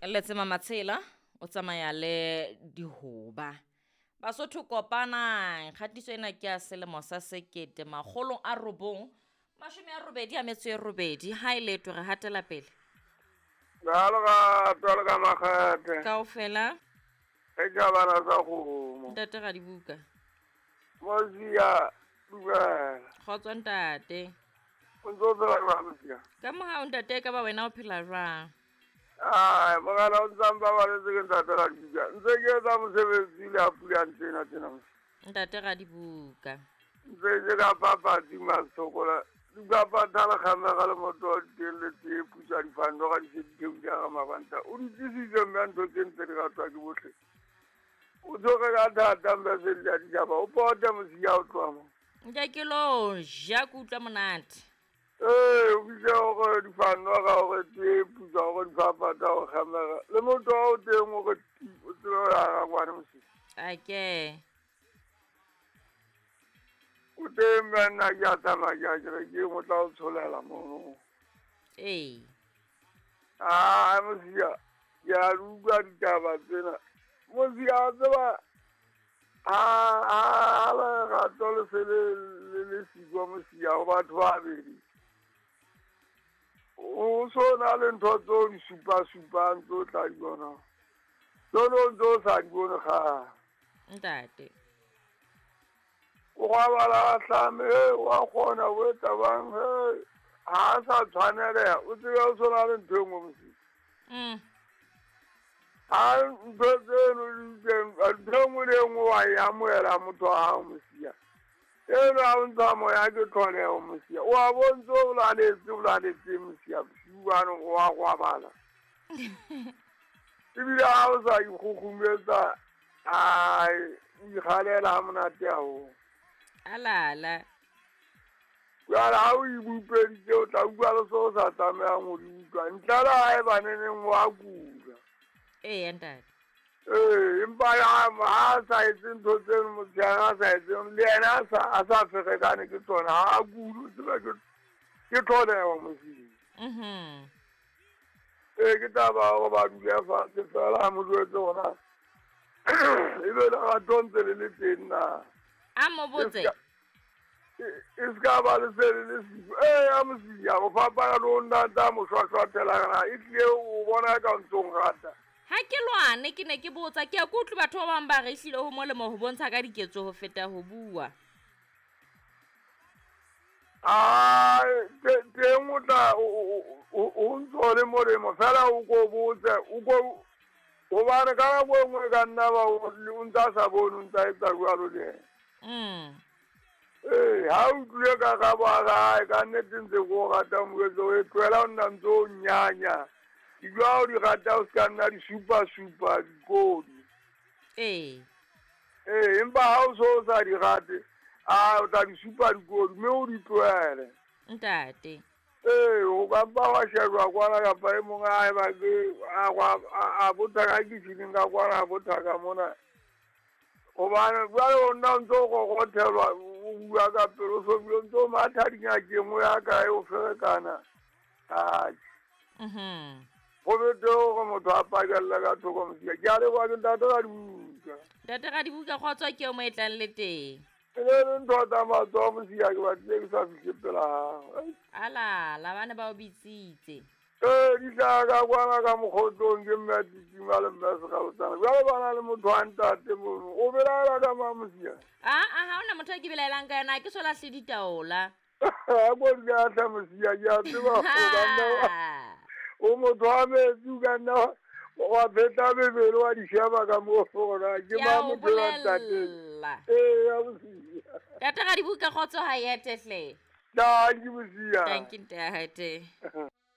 Letsema Matshela o tsamaya le dihoba. Basotho kopanang, kgatiso ena ke ya selemo sa 1988, ha e leto re hatela pele. Jalo ka ka makgethe. Kaofela. E ka bana sa kgomo. Ntate Radibuka. Mosia dumela. Kgotso ntate. O ntse o phela jwang Mosia? Ka mohau ntate, ka ba wena o phela jwang? Ai, mogala o ntsang ba baletse ke ntate Radibuka. Ntse ke etsa mosebetsi le a pula ntsena tsena Mosia. Ntate Radibuka. Ntse ke ka papatsi masokola. Dikapa thala kgamega le motho wa diteng le tee putswa difando ga di se di theoile ga mabanta. O di tlisitse mme a ntho tse ntse di ratwa ke botlhe. O tsoge ka thata mme se di a ditšhaba. O pote Mosia o tloha mo. Nka ke lo ja ke utlwa monate. Ee, o fihle gore difando ga gore tee putswa gore difapata go kgamega. Le motho wa o teng o re ti, o tsebe ho ya ga kwane Mosia. Ake. O teng mme nna ke a tsamaya ke a kerekeng, o tla o tsholela mono. Ee. Ah, Mosia, ke a di utlwa ditaba tsena. Mosia, wa tseba, ha lerato le se le siko Mosia ho batho ba babedi. O so na le ntho tseo di supa-supang tseo tla di bona. Tseno o ntse o sa di bone kgale. Ntate. O robala a hlame, wa kgona ho etsa bang, ha a sa tshwaneleha, o tsebe o so na le ntho e nngwe Mosia. Ha ntho tseno di teng, ntho e nngwe le e nngwe wa e amohela motho wa hao Mosia. Eno ha o ntsha moya ke tlholeho Mosia. O a bo ntse o laletse Mosia, bosiu bano o a robala. Ebile ha o sa ikgukgumetsa, ai, o ikgalela ha monate haholo. Alala. Jwale ha o ibupeditse, o tla utlwa le seo o sa tlamehang ho di utlwa. Ntle le ha eba neneng wa kula. Ee, ntate. Ee, empa ha a sa etse ntho tseno, motshehare a sa etseng, le yena a sa ferekane ke tsona, ha a kule, o tseba ke tlholeho Mosia. Ee, ke taba ya hore ba dule fatshe fela ha mo jwetse hore ebe lerato ntse le le teng na. A mo botse. E ska ba le se le siko. Ee, a Mosia, o fapana le o ntata mo shwashwathela kana, e tlile o bona ka ntso o nrata. Ha ke lwane, ke ne ke botsa, ke a ke utlwe batho ba bang ba re ehlile ho molemo ho bontsha ka diketso ho feta ho bua. Ai, teng o tla, o ntso le molemo, fela o ko botse, o ko, hobane ka nako e nngwe ka nna ba o ntse a sa bone, o ntse a etsa jwalo le yena. Ee, ha o utlwile ka karabo ya hae, ka nnete ntse ke o rata moetso, o e tlohela ho nna ntse o nyanya. Dijo ha o di rata, o ska nna di supa-supa dikodi. Ee. Ee, empa ha o so o sa di rate, a o tla di supa dikodi, mme o di tlohele. Ntate. Ee, o ka mpa wa shejwa kwana kapa e mong a eba ke, a botha ka kitjhining ka kwana, a botha ka mona. Hobane jwale o nna o ntso o kokothelwa, o bua ka pelo, o so bile o ntso o matha dingakeng, o ya kae, o ferekana. Atjhe. Ho betere hore motho a pakelle ka thoko Mosia. Ke a leboha ke ntate Radibuka. Ntate Radibuka, kgotso ke eo mo e tlang le teng. E ne le ntho tsa matsoho Mosia, ke batlile ke sa fihle pela hao. Alala, ba ne ba o bitsitse. Ee, di hlaha ka kwana ka mokgotlong ke mme a titima le mme a sekgalotsana. Jwale ba na le motho wa ntate mono. O belaela ka mang Mosia? Aa, ha hona motho a ke belaelang ka yena, ha ke so lahle ditaola. Ha ko di lahla Mosia, ke a tseba o ka nna wa- O motho wa metsi, o ka nna wa pheta mebele wa di sheba ka moo hore ke Ke a mang o motho wa ntate. bolella. Ee, ya Mosia. Ntate Radibuka, kgotso ha e ete hle. Thank you, Mosia. Thank you, ntate.